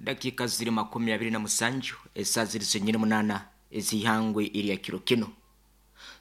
Dakiika ziri 27 esaa ziri zenyini 8 ez'ihangwe erya kiro kinu.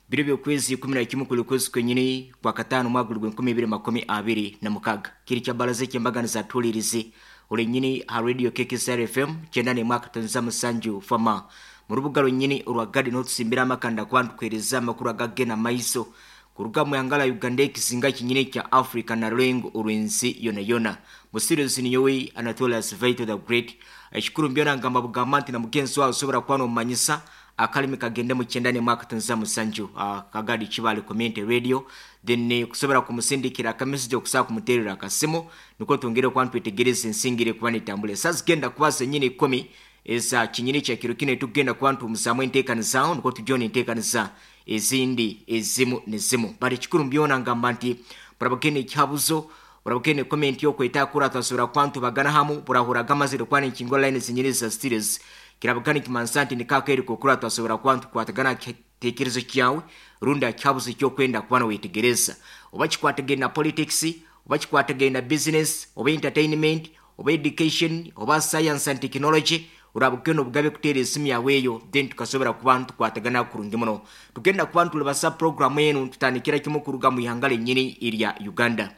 Biro by'okwezi 11 kuli kwezi kwenyini kwa kataano omwaka guri gw'e 2026. Kiri kya baraza eky'embaganiza tuhuliirize orenyini aha radio KKSR FM 91.7 fama mu rubuga rwenyini orwa Gadi n'otusimbira amakanda kuba nitukuheereza amakuru agagena maiso kuruga mu ihanga lya Uganda ekizinga kinyini kya Africa na rurengo orw'ensi yona yona. Musiruzi ninyowe Anatolius Vital the Great. Ekikuru mbyona ngamba bugamba nti na mugenzi wawe osobora kuba nomumanyisa akalimi kagende mu 91.7 Kagadi Kibale Community Radio, then kusobora kumusindikira akamessage okusobola kumuterera akasimu nikwo twongere kuba nitwetegereza ensingire kuba netambura. Esaa zigenda kuba zenyini 10 eza kinyini kya kiro kinu tugenda kuba nituhumuzamu enteekaniza nikwo tujona enteekaniza ezindi ezimu nezimu. Bali kikuru mbyona ngamba nti burabugene ekihabuzo burabugene comment yokweta kura twasobora kuba ntubagana hamu burahuraga amazire kuba nenkingo line zenyini za studios kirabugana kimansa nti nikakeri kokura twasobora kuba ntukwatagana kitekerezo kyawe rundi akihabuzo ekyokwenda kuba nowetegereza oba kikwatagene na politics oba kikwatagene na business oba entertainment oba education oba science and technology urabugene obugabe kuteera esimu yawe eyo then tukasobora kuba ntukwatagana kurungi muno. Tugenda kuba ntulibasa programu enu tutandikira kimu kuruga mu ihanga lenyini erya Uganda.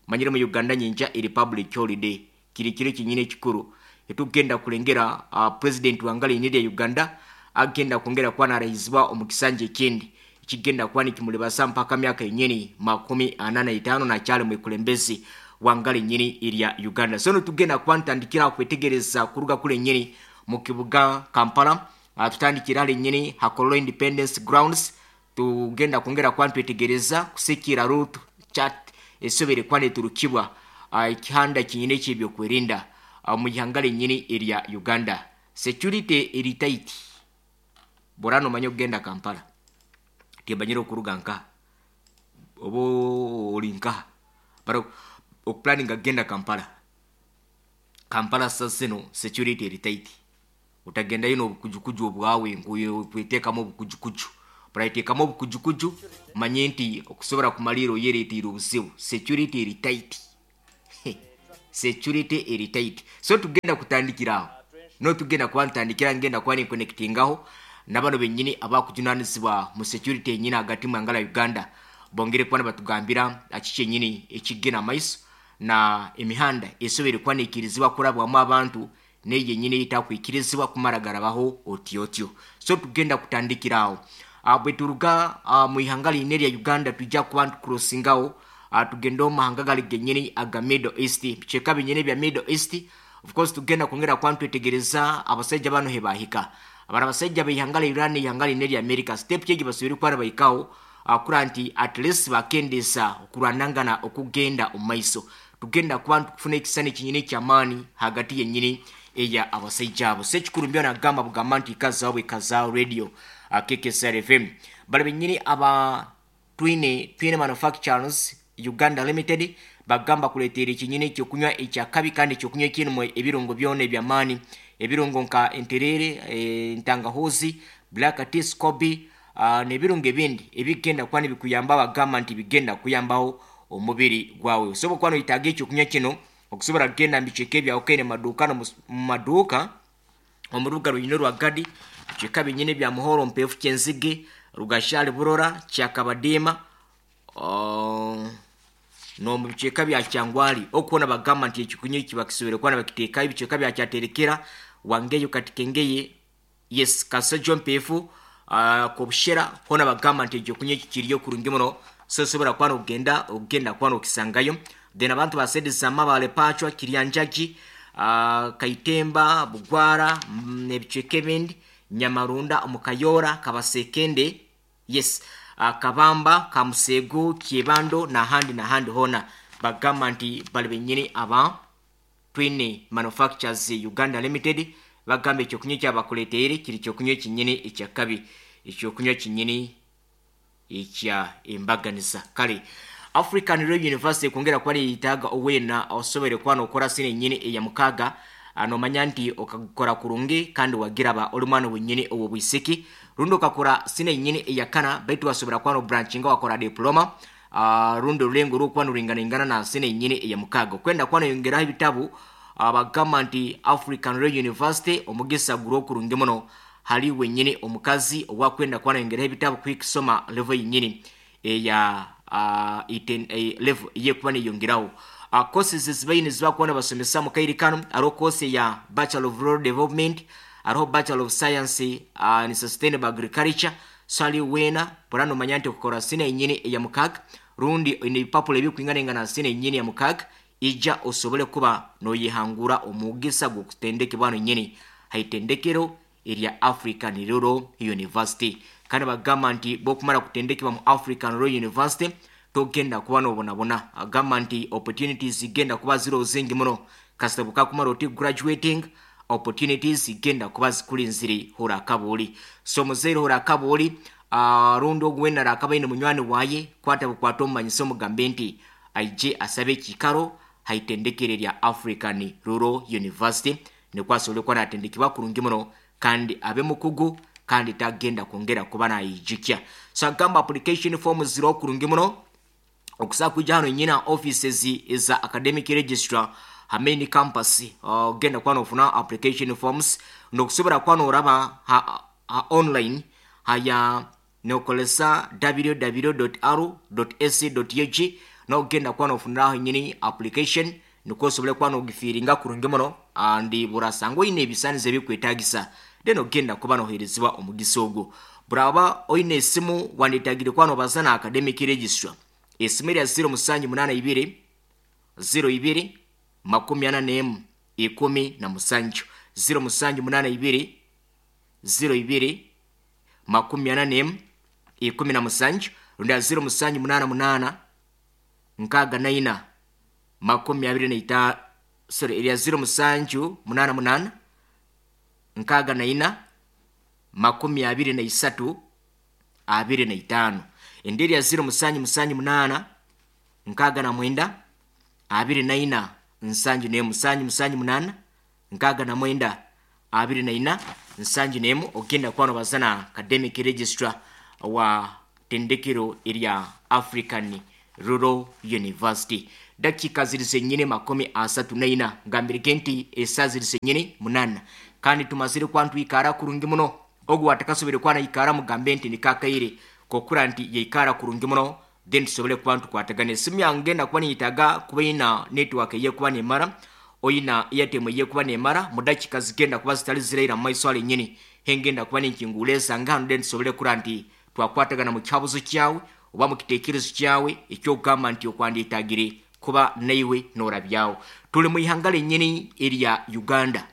Manyire mu Uganda nyinja eri public holiday kiri kiro kinyini ekikuru etugenda kulengera president wanga lenyini erya Uganda agenda kwongera kuba narahizibwa omu kisanja ekindi ekigenda kuba nikimulibasa mpaka myaka yenyini 45 nakyali mwikulembezi wanga lenyini erya Uganda. So nitugenda kuba ntandikira kwetegereza kuruga kule nyini mu kibuga Kampala. Tutandikira lenyini Hakololo Independence Grounds tugenda kwongera kuba ntwetegereza kusikira route chat esobere kuba neturukibwa ekihanda kinyini ekyebyokwerinda mu ihanga lenyini erya Uganda. Security eri tight borano omanye okugenda Kampala tebanyire okuruga nkaha oba ori nkaha bara okuplanninga kugenda Kampala. Kampala sasa zino security eri tight utagendayo n'obukujukuju obwawe nkukwetekamu obukujukuju buraitekamu obukujukuju manye nti okusobora kumalira oyereteire obuzibu. Security eri tight security eri tight. So tugenda kutandikira aho no tugenda kuba ntandikira ngenda kuba ninkonectingaho nabano benyini abakujunanizibwa mu security yenyini hagati mu ihanga lya Uganda bongere kuba nibatugambira kiki kyenyini ekigena amaiso na emihanda esobere kuba neikirizibwa kurabwamu abantu neyo yenyini etakwikirizibwa kumara garabaho otyo otyo. So tugenda kutandikira aho bwe turuga mu ihanga line erya Uganda tujja kuba ntukurosingaho tugende omu mahanga gali genyini aga Middle East bicweka binyini bya Middle East. Of course tugenda kwongera kuba ntwetegereza abasajja bano hebahika abara abasajja b'ihanga lya Iran ihanga line erya America step kyegi basobire kuba bahikaho kura nti at least bakendesa okurwanangana okugenda omu maiso. Tugenda kuba ntukufuna ekisani kinyini eky'amaani hagati yenyini eya abasajja abo. So ekikuru mbyo nagamba bugamba nti ikazaho bwekazaaho radio KKSR FM bali benyini aba twine manufacturers Uganda Limited bagamba kuleetera ekinyini ekyokunywa ekyakabi kandi ekyokunywa ekirimu ebirungo byona eby'amaani ebirungo nka enterere entangahuzi black tea scoby n'ebirungo ebindi ebigenda kuba nibikuyamba bagamba nti bigenda kuyambaho omubiri gwawe. Osobola kuba noyetaaga ekyokunywa kino okusobola kugenda mu bicweka ebyawukaine mu maduuka mu maduuka omu rubuga rwenyini orwa Gadi bicweka binyini ebya Muhoro Mpeefu Kyenzige Rugashari Burora Kyakabadiima n'omu bicweka bya Kyangwali okubona bagamba nti ekyokunywa eki bakisobere kuba nibakiteekayo ebicweka bya Kyaterekera Wangeyo Katikengeye yes Kasojo Mpeefu Kobushera hoona bagamba nti ekyokunywa eki kiriyo kurungi muno. So osobora kuba nogenda ogenda kuba nokisangayo. Then abantu ba side za Mabale Pachwa Kiryanjagi Kaitemba Bugwara ebicweka ebindi Nyamarunda omu Kayora Kabasekende yes Kabamba Kamusego Kyebando n'ahandi n'ahandi hoona bagamba nti bali benyini aba Twine Manufacturers Uganda Limited bagamba ekyokunywa ekyabakuleteire kiri kyokunywa ekinyini ekyakabi ekyokunywa kinyini ekya embaganiza. Kale African Royal University kwongera kuba neyetaaga owena osobere kuba nokora sine nyini eya mukaaga nomanya nti okakora kurungi kandi wagiraba oli mwana wenyini ow'obwisiki rundi okakora sine nyini eya kana baitu wasobora kuba nobranchinga wakora diploma rundi orulengo orwokuba nuringaningana na sine nyini eya mukaaga okwenda kuba noyongeraho ebitabu Bagamba nti African Royal University omugisa guri okurungi muno hali wenyini omukazi owakwenda kuba nayongeraho ebitabo kuhika level yenyini eya level eyekuba neyongeraho. Courses ezibaine zibakuba nibasomesa mu kaire kanu, hariho course ya Bachelor of Rural Development, hariho Bachelor of Science in Sustainable Agriculture. So hali weena bura nomanya nti okukora senior yenyini eya 6 rundi oine ebipapuro ebikwinganaingana na senior yenyini ya 6, ija osobole kuba noyehangura omugisa gw'okutendekebwa hano nyini haitendekero erya African Rural University. Kandi bagamba nti bwokumara kutendekebwa mu African Rural University togenda kuba nobonabona. Agamba nti opportunities zigenda kuba ziriho zingi muno kasita bukakumara oti graduating, opportunities zigenda kuba zikulinzire hora akabuuli. So muzaire hora akabuuli, rundi ogu wena arakaba aine munywani waye, kwata bukwata omumanyisa omugambe nti aije asabe ekikaro haitendekero erya African Rural University, nikwo asobole kuba natendekebwa kurungi muno kandi abe mukugu kandi tagenda kwongera kuba nayijukya. So agamba application form ziriho kurungi muno okusobola kwija hano nyina offices eza academic registrar ha main campus, ogenda kuba nofuna application forms, nokusobora kuba noraba ha online haya nokolesa www.r.ac.ug, nogenda kuba nofuniraho nyini application nikwo osobole kuba nogifiringa kurungi muno, andi burasanga oine ebisanizo ebikwetagisa, then ogenda kuba noherezibwa omugisa ogwo. Buraba oine esimu wandetagire kuba nobaza na academic registrar, esimu erya 0782 02 41 17, 0782 02 41 17, rundi 0788 64 25, sorry, erya 0788 64 23 25, endi erya 0778 69 24 71, 778 69 24 71. Ogenda kuba nobaza na academic registrar wa tendekero erya African Rural University. Dakika ziri zenyine 34, ngambirege nti esaa ziri zenyine 8, kandi tumazire kuba ntwikara kurungi muno. Ogu watakasobire kuba naikara mugambe nti nikakaire kokura nti yaikara kurungi muno, then tusobole kuba ntukwatagana. Esimu yange ngenda kuba niyitaga kuba ina network eyekuba nemara, oyina Airtel eyekuba nemara, mu dakika zigenda kuba zitali ziraira mu maiso ale nyini hengenda kuba ninkingula esanga hano, then tusobole kura nti twakwatagana mu kyabuzo kyawe oba mu kitekerezo kyawe ekyokugamba nti okwanditagire kuba naiwe norabyawo. Tuli mu ihanga lenyini erya Uganda,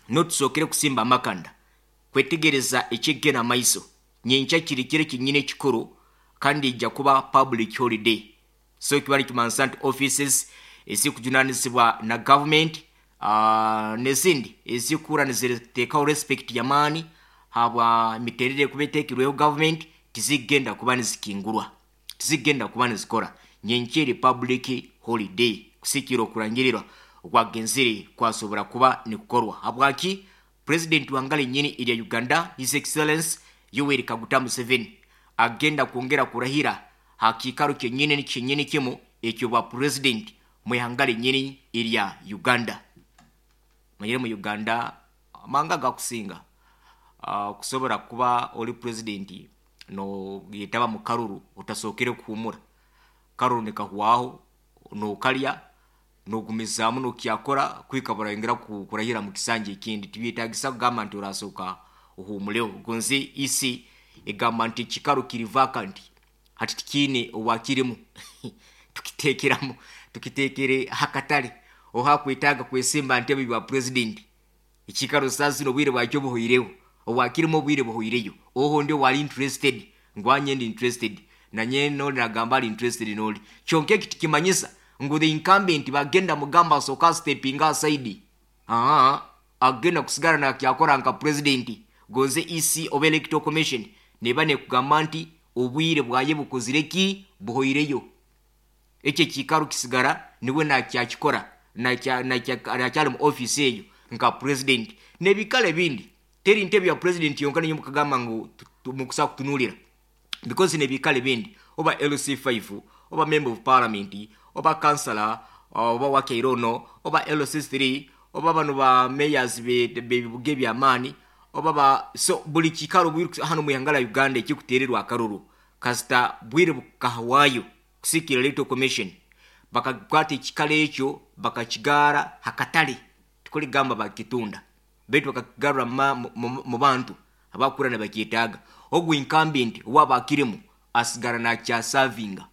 notusokere kusimba amakanda kwetegereza ekigenda maiso. Nyenkya kiri kiro kinyine ekikuru kandi ijja kuba public holiday, so kiba nikimanisa nti offices ezikujunanizibwa na government nezindi ezikura niziteekaho respect yamaani habwa miterere kuba eteekirweho government tizigenda kuba nizikingurwa, tizigenda kuba nizikora. Nyenkya eri public holiday kusikira okurangirirwa okwagenzire kwasobora kuba nikukorwa. Habwaki? President wanga lenyini erya Uganda, His Excellence Yoweri Kaguta Museveni, agenda kwongera kurahira hakikaro kyenyini kyenyini kimu ekyobwa president mu ihanga lenyini erya Uganda. Manyire mu Uganda amanga gakusinga kusobora kuba oli president no yetaba mu karuru otasokere kuhumura karuru nikahwaho nokalya nogumizaamu nokyakora kwika burayongera kurahira mu kisanja ekindi. Tibyetagisa kugamba nti orasoka ohumuleho gonze isi egamba nti ekikaro kiri vacant hati tikiine owakirimu tukitekeramu tukitekere hakatale ohakwetaaga kwesimba ntebe bwa president. Ekikaro sasa obwire bwakyo buhoireho, owakirimu obwire buhoireyo, oho ndi wali interested ngwanye ndi interested nanye noli nagamba ali interested noli kyonka eki tikimanyisa ngu the incumbent bagenda mugamba asoka stepping aside, agenda kusigara nakyakora nka president. Gonze EC oba Electoral Commission neba nekugamba nti obwire bwaye bukozire ki buhoireyo, ekyo ekikaro kisigara niwe nakyakikora nakyali mu office eyo nka president. Nebikalo ebindi teri ntebe ya president yonka niyo mukagamba ngu mukusa kutunulira, because nebikalo ebindi oba LC5 oba member of parliament oba councillor Oba wakeire ono oba LC3 oba bano ba mayors bebibuga ebyamaani oba ba, so buli kiikaro hanu omu ihanga lya Uganda ekikuteererwa akaruru kasita bwire bukahwayo kusiikira Electoral Commission bakakwata ekikaro ekyo bakakigaara hakatare, tikurigamba bakitunda baitu bakakigarura mu bantu abakukura nibakyetaaga. Ogu incumbent owaaba akirimu asigara nakyasavinga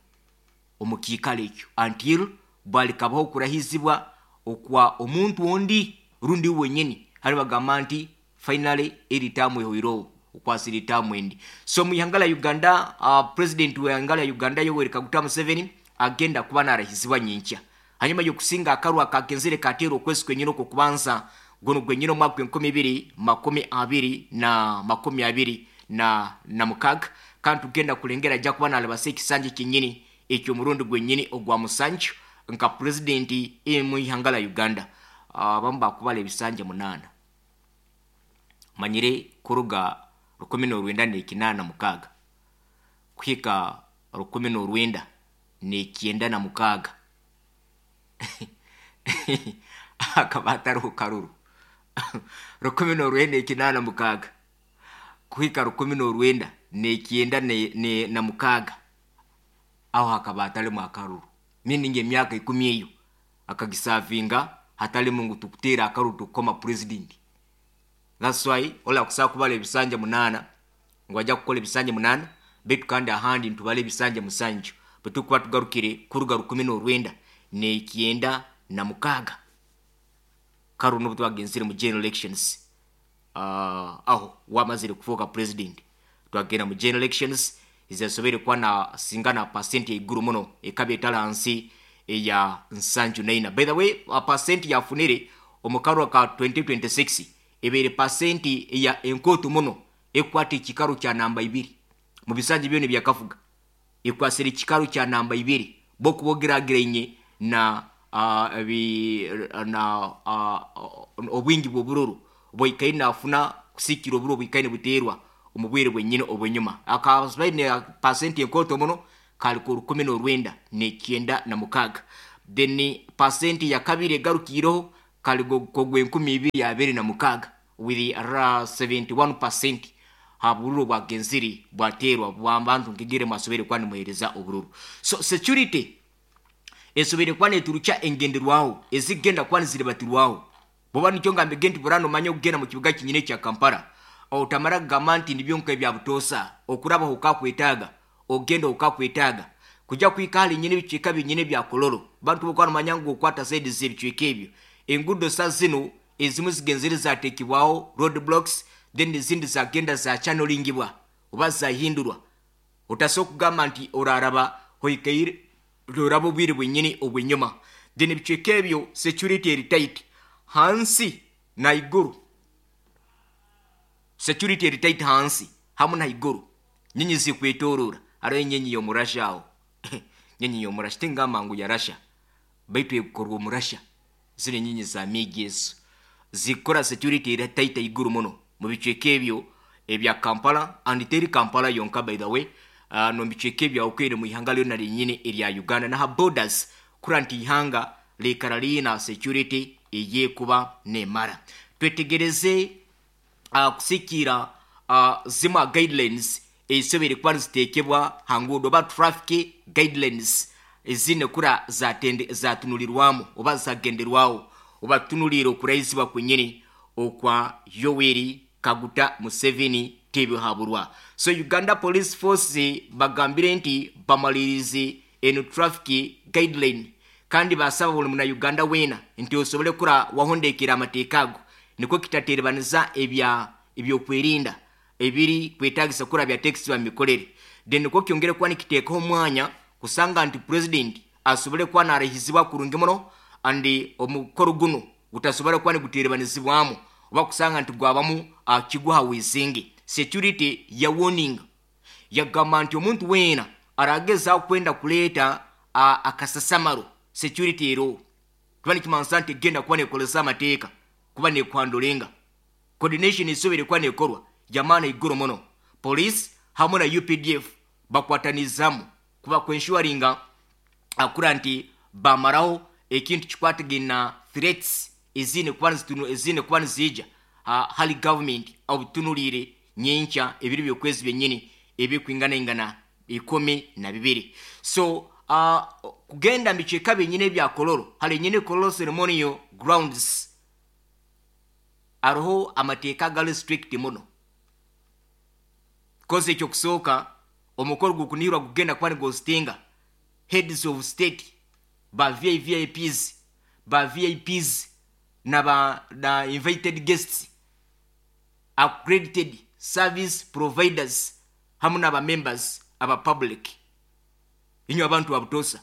omu kiikaro ekyo until bwarikabaho okurahizibwa okwa omuntu ondi rundi we wenyini hariyo nibagamba nti finally eri term ehweireho okwasire term endi. So omu ihanga rya Uganda president w'eihanga rya Uganda Yoweri Kaguta Museveni agenda kuba narahizibwa nyenkya hanyuma y'okusinga akaruru akagenzire kateerwa okwezi kwenyini okw'okubanza gunu gwenyini omwaka gw'enkumi ibiri makumi abiri na makumi abiri na mukaaga kandi tugenda kurengera aija kuba narabasa ekisanja kyenyini eky'omurundi gwenyini ogwa musanju nka purezidenti omu ihanga rya Uganda. Abamu bakubara ebisanja munaana. Manyire kuruga 1986 kuhika 1996 hakaba hatariho karuru. 1986 kuhika 1996 aho hakaba hatarimu akaruru. Meaning emyaka 10 eyo akagisavinga hatarimu ngu tukuteera akaruru tukukoma president. That's why orakusobola kubara ebisanja 8 ngu aija kukora ebisanja 8 baitu kandi ahandi nitubara ebisanja 7 bwe turikuba tugarukire kuruga 1996 karuru n'obu twagenzire mu general elections aho wamazire kufuuka president twagenda mu general elections ezasoboire kuba nasinga na percent yaiguru muno ekaba etari ahansi eya 74. By the way, percent yafunire omu karuru ka 2026 ebaire percent eya enkooto muno ekukwata ekikaro kya namba 2 mu bisanja byona ebyakafuga ekwasire ekikaro kya namba 2 bwokuba ogerageraine na obwingi bw'obururu bwaikaire nafuna kusiikira oburo bwikaire nibuteerwa omu bwire bwenyini obw'enyuma. Akabaine percent enkooto muno kari ka 1996. Then percent ya kabiri egarukiireho kari kogw'enkumi ibiri abiri na mukaaga with 71% ha bururu bwagenzire bwateerwa bw'abantu nkigire mwasoboire kuba nimuheereza obururu. So security esoboire kuba neturukya engenderwaho ezikugenda kuba niziribatirwaho. Bwoba nikyo ngambire nti burano omanye okugenda mu kibuga kinyine ekya Kampala otamara kugamba nti nibyo nka ebya butoosa okurabaho okakwetaaga ogenda okakwetaaga kujya kuhika ahari nyine ebicweka binyine ebya Kololo. Bantu bokuba nomanya ngu okwata saidi z'ebicweka ebyo enguudo sa zinu ezimu zigenzire zateekibwaho road blocks then ezindi zagenda zachanelingibwa oba zahindurwa. Otasobola kugamba nti oraraba oikaire oraba obwire bwenyini obw'enyuma. Then ebicweka ebyo security eri tight hansi na iguru. Security eri tight hansi hamwe na iguru. Nyinyi zikwetorora hariho enyinyi y'omurasha aho. Nyinyi y'omurasha tingamba ngu yarasha baitu ekukorwa omurasha. Zino enyinyi za miigi ezo zikukora security eri tight iguru muno mu bicweka ebyo ebya Kampala and teri Kampala yonka by the way no bicweka ebya okwire mu ihanga lyona lyenyini erya Uganda naha borders kura nti ihanga liikara liina security eyekuba nemara. Twetegereze kusikiira zimwe guidelines ezisoboire kuba niziteekebwa ha nguudo oba traffic guidelines ezine kura zatunulirwamu oba zagenderwaho oba tutunuliire okurahizibwa kwenyini okwa Yoweri Kaguta Museveni tebihaburwa. So Uganda Police Force bagambire nti bamalirize eno traffic guideline kandi basaba buli muna Uganda weena nti osobole kura wahondekera amateeka ago nikwo kitaterebaniza ebyokwerinda ebiri kwetagisa kura byatekisibwa mu mikorere. Then nikwo kyongere kuba nikiteekaho omwanya kusanga nti president asobole kuba narahizibwa kurungi muno and omukoro guno gutasobora kuba niguterebanizibwamu oba kusanga nti gwabamu kiguha wisinge. Security ya warning yagamba nti omuntu weena aragezaho kwenda kuleeta akasasamaro security ero kuba nikimanisa nti egenda kuba nekoresa amateeka kuba nekwandolenga. Coordination esobere kuba nekorwa yamaana iguru muno. Police hamwe na UPDF bakwatanizamu kuba kwenshuwaringa akura nti bamaraho ekintu kikwatagaine na threats eziine kuba nizitunu eziine kuba niziija ha hali government obutunuliire nyenkya ebiro by'okwezi byenyini ebikwinganaingana 12. So kugenda mu bicweka byenyini ebya Kololo, hali enyini Kololo ceremonial grounds, hariho amateeka agali strict muno. Kozi ekyokusooka, omukoro gukunihirwa gugenda kuba niguhostinga heads of state, ba VIVIPs, ba VIPs na ba na invited guests, accredited service providers hamu n'aba members aba public. Inywe abantu ba butoosa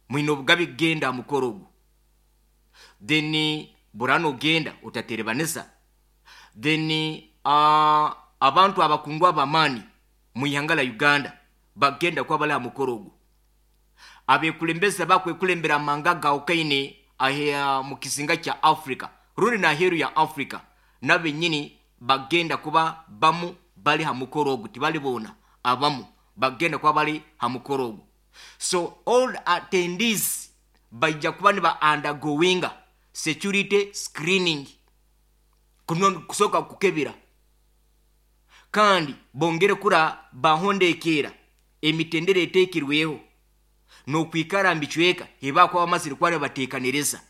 mwine obugabe kugenda aha mukoro ogu. Then bura nogenda otaterebanisa. Then abantu abakungu ab'amaani mu ihanga lya Uganda bagenda kuba bari aha mukoro ogu. Abekulembezi abakwekulembera amahanga agahikaine aha mu kizinga kya Africa rundi n'aheeru ya Africa nabo benyini bagenda kuba bamu bari ha mukoro ogu, tibali boona, abamu bagenda kuba bari ha mukoro ogu. So all attendees baija kuba niba undergoinga security screening, kusooka kukebera kandi bongere kura bahondekeera emitendera eteekirweho n'okwikara mu bicweka ebi bakuba bamazire kuba nibateekaniriza.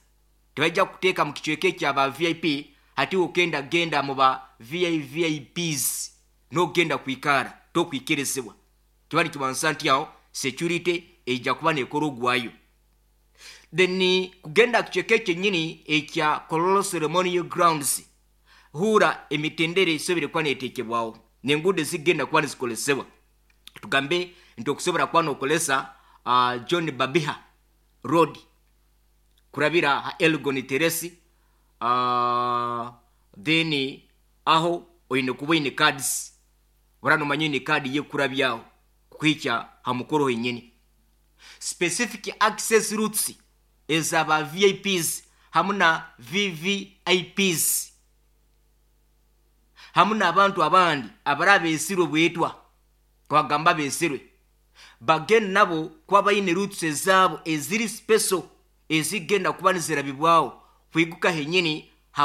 Tibaija kukuteeka mu kicweka ekya ba VIP hati okenda kugenda mu ba VIVIPs n'okugenda kwikara tokwikirizibwa. Kiba nikimanisa nti aho security eija kuba neekora ogwayo. Then kugenda aha kicweka ekyenyini ekya Kololo Ceremonial Grounds, huura emitendera esobire kuba neeteekebwaho n'enguudo ezikugenda kuba nizikozesebwa. Tugambe nti okusobora kuba nookoresa John Babiha Road kurabira aha Elgon Terrace, then aho oine kuba oine cards, oraba noomanya oine kaadi y'okukurabyaho kukuhikya ha mukoro henyini. Specific access routes eza ba VIPs hamu na VVIPs hamu n'abantu abandi abaraba beesirwe bwetwa, twagamba abeesirwe, bagenda nabo kuba baine routes ezaabo eziri special ezigenda kuba nizirabibwaho kwiguka henyini.